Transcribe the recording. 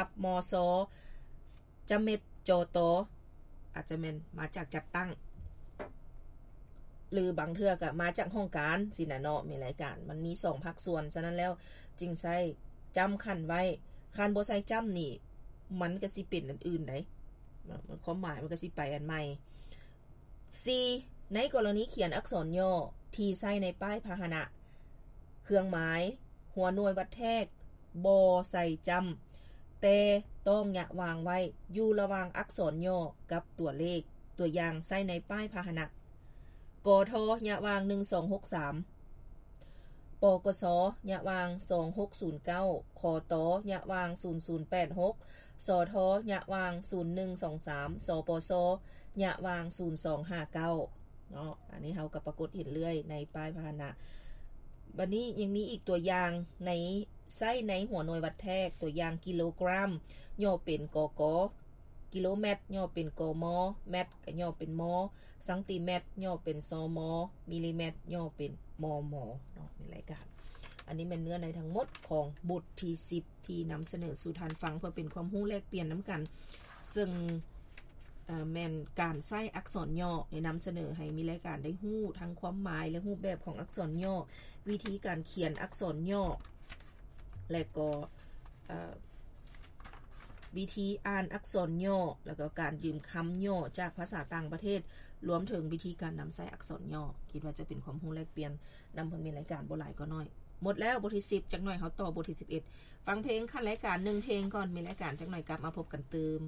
ກັບ ມຊ ຈະເມັດ ຈຕ ອາດຈະແມ່ນມາຈາກຈັດຕັ້ງ ຫຼືບາງເທື່ອກໍມາຈາກຫ້ອງການຊີ້ນະເນາະ ແມ່ນລາຍການ ມັນມີສອງພາກສ່ວນ. ສະນັ້ນແລ້ວຈຶ່ງໃຊ້ຈ້ຳຂັ້ນໄວ້. ຄັນບໍ່ໃສ່ຈ້ຳນີ້ ມັນກໍຊິເປັນອັນອື່ນໃດ໋ ເນາະ ຄວາມໝາຍມັນກໍຊິໄປອັນໃໝ່. ສີ່ ໃນກໍລະນີຂຽນອັກສອນຫຍໍ້ທີ່ໃຊ້ໃນປ້າຍພາຫະນະ, ເຄື່ອງໝາຍ, ຫົວໜ່ວຍວັດແທກ ບໍ່ໃສ່ຈ້ຳ ແຕ່ຕ້ອງຍະຫວ່າງໄວ້ຢູ່ລະຫວ່າງອັກສອນຫຍໍ້ກັບຕົວເລກ. ຕົວຢ່າງໃຊ້ໃນປ້າຍພາຫະນະ: ກທ ຍະຫວ່າງ ໜຶ່ງສອງຫົກສາມ, ປກສ ຍະຫວ່າງ ສອງຫົກສູນເກົ້າ, ຂຕ ຍະຫວ່າງ ສູນສູນແປດຫົກ, ສທ ຍະຫວ່າງ ສູນໜຶ່ງສອງສາມ, ສປສ ຍະຫວ່າງ ສູນສອງຫ້າເກົ້າ ເນາະ. ອັນນີ້ເຮົາກໍປາກົດເຫັນເລື້ອຍໃນປ້າຍພາຫະນະ. ບັດນີ້ຍັງມີອີກຕົວຢ່າງໃນ ໃຊ້ໃນຫົວໜ່ວຍວັດແທກ, ຕົວຢ່າງ ກິໂລກຣາມ ຫຍໍ້ເປັນ ກກ, ກິໂລແມັດ ຫຍໍ້ເປັນ ກມ, ແມັດ ກໍຫຍໍ້ເປັນ ມ, ຊັງຕີແມັດ ຫຍໍ້ເປັນ ຊມ, ມິລລີແມັດ ຫຍໍ້ເປັນ ມມ ເນາະ ໃນລາຍການ. ອັນນີ້ແມ່ນເນື້ອໃນທັງໝົດຂອງບົດທີສິບ ທີ່ນຳສະເໜີສູ່ທ່ານຟັງ ເພື່ອເປັນຄວາມຮູ້ແລກປ່ຽນນຳກັນ, ເຊິ່ງ ເອີ່ ແມ່ນການໃຊ້ອັກສອນຫຍໍ້ ໄດ້ນຳສະເໜີໃຫ້ມີລາຍການໄດ້ຮູ້ທັງຄວາມໝາຍ ແລະ ຮູບແບບຂອງອັກສອນຫຍໍ້, ວິທີການຂຽນອັກສອນຫຍໍ້ ແລະ ກໍ ເອີ່ ວິທີອ່ານອັກສອນຫຍໍ້ ແລ້ວກໍການຢືມຄຳຫຍໍ້ຈາກພາສາຕ່າງປະເທດ, ລວມເຖິງວິທີການນຳໃຊ້ອັກສອນຫຍໍ້. ຄິດວ່າຈະເປັນຄວາມຮູ້ແລກປ່ຽນນຳເພິ່ນ ມີລາຍການບໍ່ຫຼາຍກໍໜ້ອຍ. ໝົດແລ້ວບົດທີສິບ, ຈັກໜ້ອຍເຮົາຕໍ່ບົດທີສິບເອັດ. ຟັງເພງຂັ້ນລາຍການໜຶ່ງເພງກ່ອນ, ມີລາຍການຈັກໜ້ອຍກັບມາພົບກັນຕື່ມ.